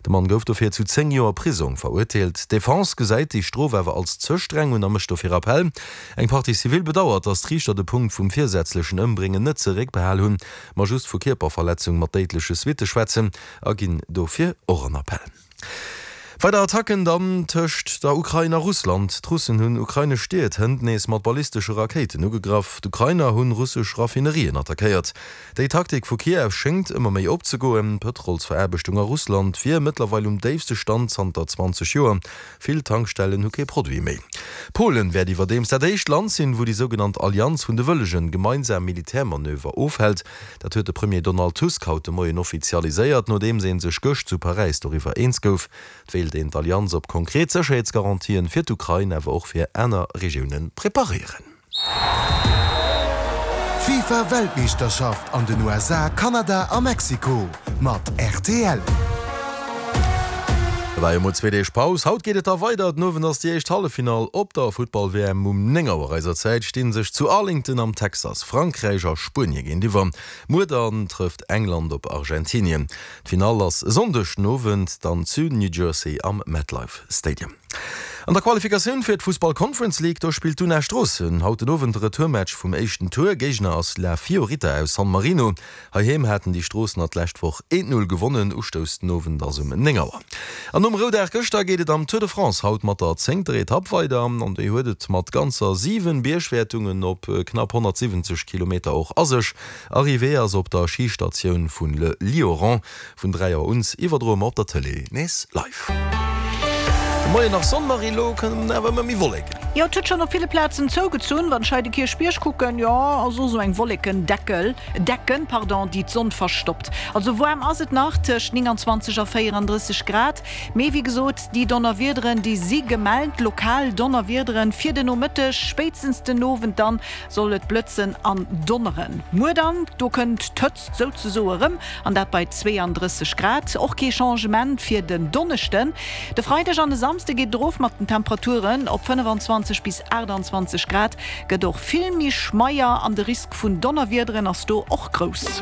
De Mann gouf dofir zu 10 Joer Prisong verurteelt. D'Defense gesäit déi Strof awer als ze streng un a mécht dofir Appell. Eng Partie civile bedauert, datt d'Riichter de Punkt vum virsätzlechen Ëmbréngen net zeréckbehal hunn, ma just vu Kierperverletzung mat déidleche Suitte schwätzen a ginn dofir och an Appell. Weider Attacken dann tëscht der Ukrain a Russland. D'Russen hunn ukrainesch Stied hënt nees mat ballistesche Rakéiten ugegraff. D'Ukrainer hunn russesch Raffinerien attackéiert. Déi Taktik vu Kiew schéngt ëmmer méi opzegoen. D'Pëtrolsveraarbechtung a Russland wier mëttlerweil um déifste Stand zanter 20 Joer. Vill Tankstellen hu kee Produit méi. Polen wäert iwwerdeems dat éischt Land sinn, wou déi sougenannt Allianz vun de Wëllegen gemeinsam Militärmanöver ofhält. Dat huet de Premier Donald Tusk haut de Moien offizialiséiert, nodeems ee sech gëscht zu Paräis doriwwer eens gouf. Et wéilt een d'Allianz op konkret Sécherheetsgarantien fir d'Ukrain, awer och fir aner Regioune preparéieren. D'FIFA Weltmeeschterschaft an den USA, Kanada a Mexiko mat rtl. Et war jo mol zwee Deeg Paus, haut geet et da weider. Den Owend ass déi éischt Halleffinall op der Futtball-WM. Um 9 Auer eiser Zäit sti sech zu Arlington am Texas Frankräich a Spuenie géintiwwer. Muer dann trëfft England op Argentinien. D'Finall ass e Sonndeg den Owend dann zu New Jersey am MetLife Stadium. An der Qualifikatioun fir d'Fussball Conference League, do spillt d'Una Stroossen haut den Owend de Retourmatch vum éischten Tour. Géigner ass La Fiorita aus San Marino. Heiheem haten déi Stroossener d'lescht Woch 1, 0 gewonnen. Ustouss den Owend ass um 9 Auer. An nom Roudag gëschter geet et am Tour de France haut mat der zéngter Etapp weider. An déi huet et mat ganzer 7 Biergwäertungen op knapp 170 Kilometer och a sech. Arrivée ass op der Schistatioun vun Le Lioran. Vun 3 Auer un iwwerdroe mer op der Tëlee nees live. De Moien nach Sonn, Marie, elo kënnen awer ëmmer méi Wolleken. Jo, et huet schonn op ville Plazen zougezunn. Wann ech hei de Kierchbierg kucken, jo, ass och esou eng Wollekendeckel, Decken, pardon, déi d'Sonn verstoppt. Also waarm ass et nach, tëscht 29 a 34 Grad. Mee wéi gesot, déi Donnerwiederen, déi si gemellt, lokal Donnerwiederen fir de Nomëtteg, spéitstens den Owend dann soll et blëtzen an donneren. Muer dann, do kënnt d'Hëtzt souzesoe rëm, an dat bei 32 Grad. Och kee Changement fir den Donneschden. De Freideg an e Samsde geet et erof mat den Temperaturen op 25 bis 28 Grad, gëtt och vill méi schmeier an de Risk vun Donnerwiederen ass do och grouss.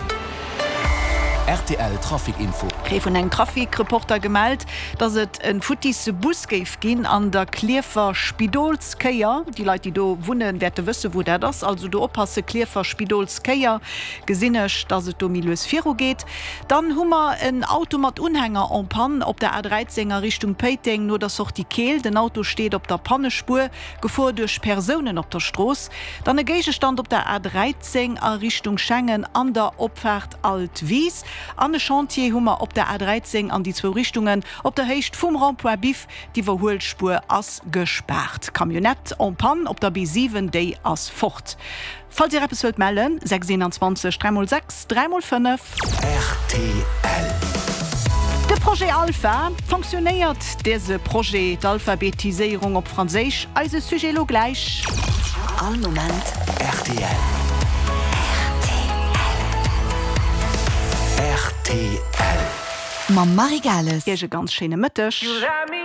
Rtl Trafic Info. Kréie vun engem Trafic-Reporter gemellt, dass et e futtisse Bus géif ginn an der Klierfer Spidolskéier. Déi Leit, déi do wunnen, wäerte wësse wou dat ass. Also do oppasse, Klierfer Spidolskéier. Gesinn ech, dass et do méi lues viru geet. Dann hu mer en Auto mat Unhänger en panne op der A13 a Richtung Péiteng no der Sortie Keel. Den Auto steet op der Pannespuer, Gefor duerch Persounen op der Strooss. Dann e Géigestand op der A13 a Richtung Schengen an der Opfaart Altwis. An e Chantier hu mer op der A13 an déi zwou Richtungen op der Héicht vum Rond-point Biff. D'Iwwerhuelspuer ass gespaart. Camionnette en panne op der B7, déi ass fort. Falls dir eppes wëllt mellen, 6 21 3 x 6 3 x 5. Rtl. De Projet Alpha, Fonctionnéiert dëse Projet, d'Alphabetiséierung op Franséisch? Eise Sujet elo gläich. All Moment rtl. Rtl. Mam Marie Gales. Iech e ganz schéine Mëtteg.